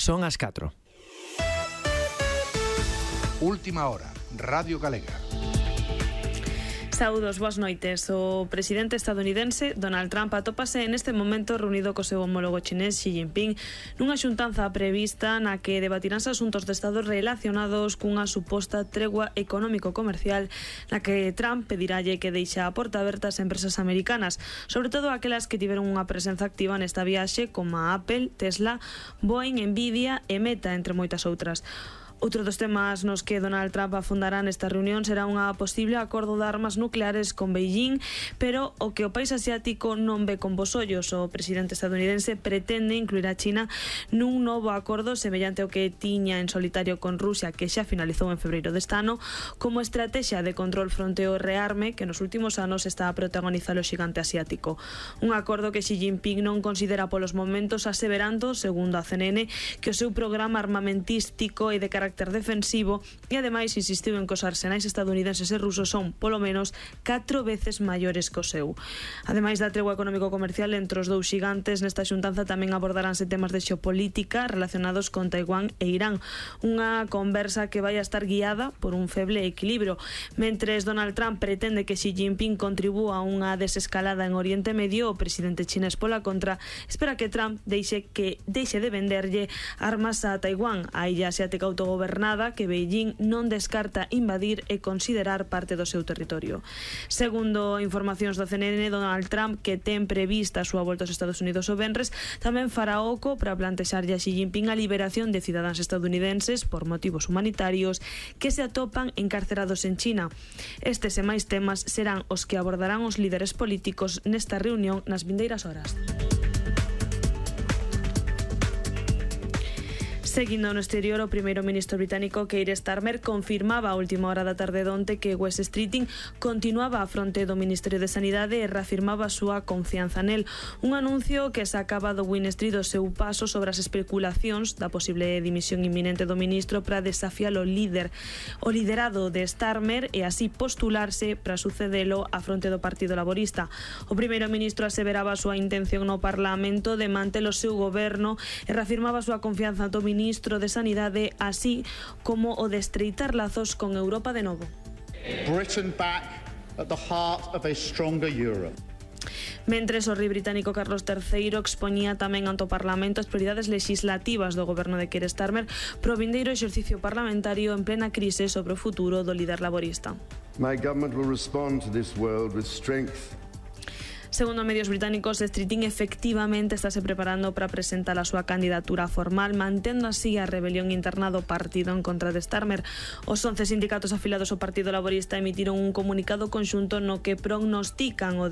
Son as 4. Última hora, Radio Galega. Saúdos, boas noites. O presidente estadounidense Donald Trump atópase neste momento reunido co seu homólogo chinés Xi Jinping nunha xuntanza prevista na que debatiránse asuntos de Estado relacionados cunha suposta tregua económico-comercial na que Trump pedirálle que deixe a porta aberta ás empresas americanas, sobre todo aquelas que tiveron unha presenza activa nesta viaxe como a Apple, Tesla, Boeing, Nvidia e Meta, entre moitas outras. Outro dos temas nos que Donald Trump afundará nesta reunión será unha posible acordo de armas nucleares con Beijing, pero o que o país asiático non ve con bos ollos. O presidente estadounidense pretende incluir a China nun novo acordo semellante ao que tiña en solitario con Rusia, que xa finalizou en febreiro deste ano, como estrategia de control fronte ao rearme que nos últimos anos está a protagonizar o xigante asiático. Un acordo que Xi Jinping non considera polos momentos, aseverando, segundo a CNN, que o seu programa armamentístico e de carácter defensivo e ademais insistiu en que os arsenais estadounidenses e rusos son polo menos 4 veces maiores que o seu. Ademais da tregua económico-comercial entre os dous xigantes, nesta xuntanza tamén abordaránse temas de xeopolítica relacionados con Taiwán e Irán, unha conversa que vai a estar guiada por un feble equilibrio. Mentres Donald Trump pretende que Xi Jinping contribúa a unha desescalada en Oriente Medio, o presidente chinés pola contra espera que Trump deixe de venderlle armas a Taiwán, a illa asiática autogobernada que Beijing non descarta invadir e considerar parte do seu territorio. Segundo informacións da CNN, Donald Trump, que ten prevista a súa volta aos Estados Unidos o venres, tamén fará oco para plantexarlle a Xi Jinping a liberación de cidadáns estadounidenses por motivos humanitarios que se atopan encarcerados en China. Estes e máis temas serán os que abordarán os líderes políticos nesta reunión nas vindeiras horas. Seguindo no exterior, o primeiro ministro británico Keir Starmer confirmaba a última hora da tarde donte que West Streeting continuaba a fronte do Ministerio de Sanidade e reafirmaba a súa confianza nel. Un anuncio que sacaba do Win Street o seu paso sobre as especulacións da posible dimisión inminente do ministro para desafiar o liderado de Starmer e así postularse para sucedelo a fronte do Partido Laborista. O primeiro ministro aseveraba a súa intención no Parlamento de manter o seu goberno e reafirmaba a súa confianza do ministro de Sanidade, así como o de estreitar lazos con Europa de novo. Britain back at the heart of a stronger Europe. Mentres o rei británico Carlos III expoñía tamén ante o Parlamento as prioridades legislativas do goberno de Keir Starmer pro vindeiro exercicio parlamentario en plena crise sobre o futuro do líder laborista. My government will respond to this world with strength. Segundo medios británicos, Streeting efectivamente estáse preparando para presentar a súa candidatura formal, mantendo así a rebelión interna do partido en contra de Starmer. Os 11 sindicatos afilados ao Partido Laborista emitiron un comunicado conxunto no que prognostican o